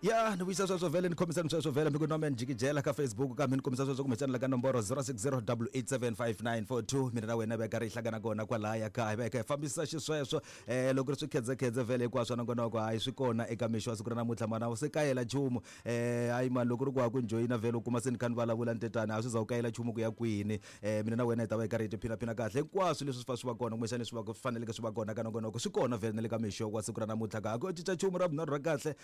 Ya ni vuyisa sweswo vhele, ni khomisani sweswo vhele, mi ku nome ni jikijela ka Facebook, kambe ni kombisa sweswo kumbexana la ka nomboro 0608875942. Mina na wena veka ri hlangana kona kwalaya ka hi veka hi fambisa xisweswo. Loko ri swi khedzekhedze vhele hinkwaswo nongonoko, hayi swi kona eka mixo wa siku ra namuntlha, mana u se kayela nchumu. Hayi mani, loko ri ku ha ku njoyina vhele u kuma se ni kha ni vulavula ni tetani, a swi za u kayela nchumu ku ya kwini. Mina na wena hi ta va hi karhi hi tiphinaphina kahle hinkwaswo leswi swi fa swi va kona, kumbexana leswi va faneleke swi va kona ka nongonoko swi kona vhele na le ka mixo wa siku ra namuntlha. Ka ku cinca nchumu ra vunharhu ra kahle,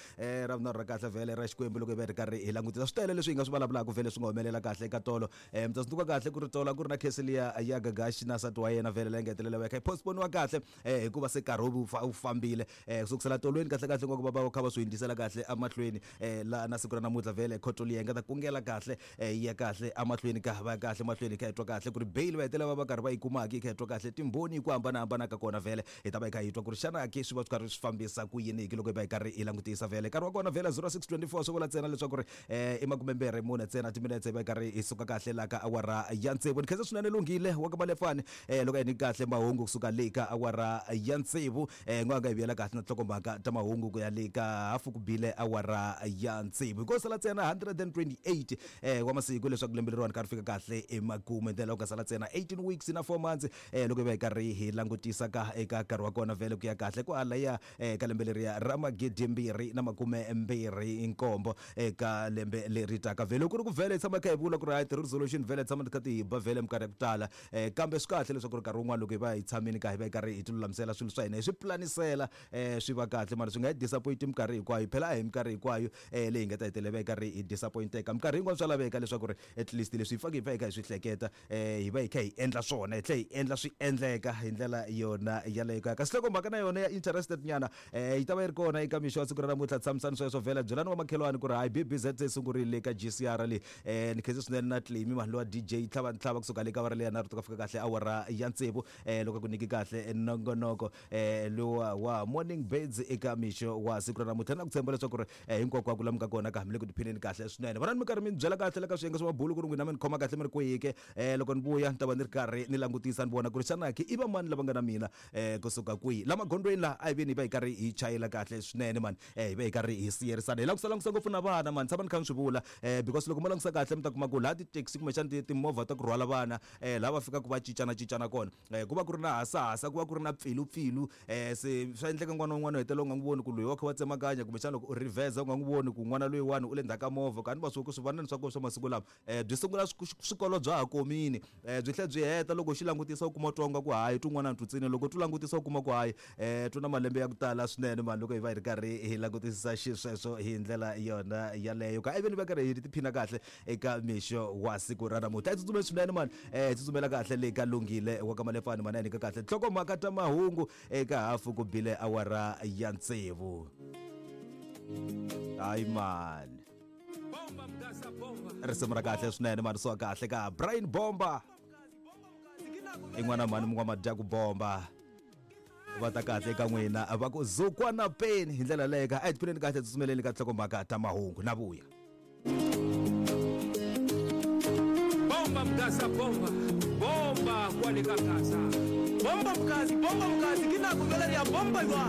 ra vunharhu ra kahle vhele ra Xikwembu. Loko hi va hi ri karhi hi langutisa swi tele leswi hi nga swi vulavulaka vhele swi nga humelela kahle eka tolo. Mi ta tsundzuka kahle ku ri tolo a ku ri na khesi liya ya Gagashi na nsati wa yena vhele, leyi nga hetelela va kha yi postponiwa kahle, hikuva se nkarhi wu fambile. Kusukisela tolweni kahle kahle nga ku va va kha va swi hundzisela kahle emahlweni, la na siku ra namuntlha vhele khoto liya yi nga ta kungela kahle, yi ya kahle emahlweni, ka va ya kahle mahlweni, hi kha hi twa kahle ku ri bail va hetelela va va karhi va yi kumaka, hi kha hi twa kahle timbhoni hi ku hambanahambana ka kona vhele. Hi ta va hi kha hi twa ku ri xana ke swi va swi karhi swi fambisa ku yini hi loko hi va hi karhi hi langutisa vhele nkarhi wa kona vhele 0624, swi vula ntsena leswaku ri i 24 ntsena timinetse hi va hi karhi hi suka kahle laha ka awara ya tsevu. Ni khensa swinene Lunghile wa ka Malefani, loko a hi nyiki kahle mahungu kusuka le ka awara ya tsevu. N'wa nga hi vuyela kahle na tinhlokomhaka ta mahungu ku ya le ka hafu ku bile awara ya tsevu. Hi ko sala ntsena 128 wa masiku leswaku lembe leriwani ka ri fika kahle emakumu, hi ndlela ku nga sala ntsena 18 weeks na 4 months. Loko hi va hi karhi hi langutisa ka eka nkarhi wa kona vhele ku ya kahle kwalaya, ka lembe leriya ra 2027, eka lembe leri taka vhele ku ri ku vhele hi tshama kha hi vula ku ri hayi ti-resolution vhele tshama ti kha ti hi ba vhele minkarhi ya ku tala. Kambe swi kahle leswaku ri nkarhi wun'wana loko hi va hi tshamini ka hi va hi karhi hi ti lulamisela swilo swa hina, hi swi pulanisela, swi va kahle mara swi nga hi disappoint minkarhi hinkwayo. Phela a hi minkarhi hinkwayo leyi hi nga ta hetelela hi karhi hi disappointeka. Minkarhi yin'wana swa laveka leswaku ri at least leswi hi faneke hi va hi kha hi swi hleketa, hi va hi kha hi endla swona, hi tlhela hi endla swi endleka hi ndlela yona yaleyo. Kaya kasi loko mhaka na yona ya interested nyana, yi ta va yi ri kona eka mixo wa siku ra namuntlha. Tshamisani sweswo vhela, byelani wa makhelwani ku ri hayi BBZ se yi sungurile ka GCR leyi. Ni khense swinene na Claimy mani lowa DJ tlhava ntlhava kusuka le ka awara leya nharhu to ka fika kahle awara ya tsevu, loko ku nyiki kahle nongonoko lowa wa Morning Birds eka mixo wa siku ra namuntlha, na ku tshemba leswaku ri hinkwako ku lamuka kona ka hambi le ku tiphineni kahle swinene. Vonani mi karhi mi ni byela kahle la ka swiyenge swa mabulu ku ri n'wina mi ni khoma kahle mi ri kwihi ke. Loko ni vuya ni ta va ni ri karhi ni langutisa ni vona ku ri xana ke i va mani lava nga na mina, kusuka kwihi la magondzweni la. A hi veni hi va hi karhi hi chayela kahle swinene mani, hi va hi karhi hi siyerisana, hi langutisa langutisa ngopfu na vana mani, tshama ni kha ni swi vula, because loko mo langutisa kahle mi ta kuma ku laha ti-taxi kumbexana timovha ta ku rhwala vana, laha va fikaka va cincana cincana kona, ku va ku ri na hasahasa, ku va ku ri na pfilupfilu. Se swa endleka n'wana wun'wana u hetelela u nga n'wi voni ku loyi wa kha wa tsemakanya, kumbexana loko u reverse u nga n'wi voni ku n'wana loyiwani u le ndzhaku ka movha. Kani va swi ku swivanani swa kona swa masiku lama, byi sungula swikolo bya ha komini, byi tlhela byi heta. Loko u xi langutisa u kuma twa nga ku hayi tun'wana tutsini, loko tu langutisa u kuma ku hayi, tu na malembe ya ku tala swinene mani. Loko hi va hi ri karhi hi langutisisa xisweswo hi ndlela yona yaleyo ka iveni va karhi hi tiphina kahle eka mixo wa siku ra namuntlha, hi tsutsumeli swinene mani, hi tsutsumela kahle le ka Lunghile wa ka Malefani mani, a nyika kahle nhlokomhaka ta mahungu eka hafu ku bile awara ya tsevu. Hayi mani, risimu ra kahle swinene mani, swa kahle ka Brian Bomba i n'wana mhani mun'wa madya ku bomba va ta kahle eka n'wina va ku zukwana peni hi ndlela leyo ka a hi tiphineni kahle, tsutsumeleni ka nhlokomhaka ta mahungu na vuya. Bomba Mgaza, bomba bomba kwale ka Gaza. Bomba Mgazi, bomba Mgazi, ke nako jwale re ya bomba jwale.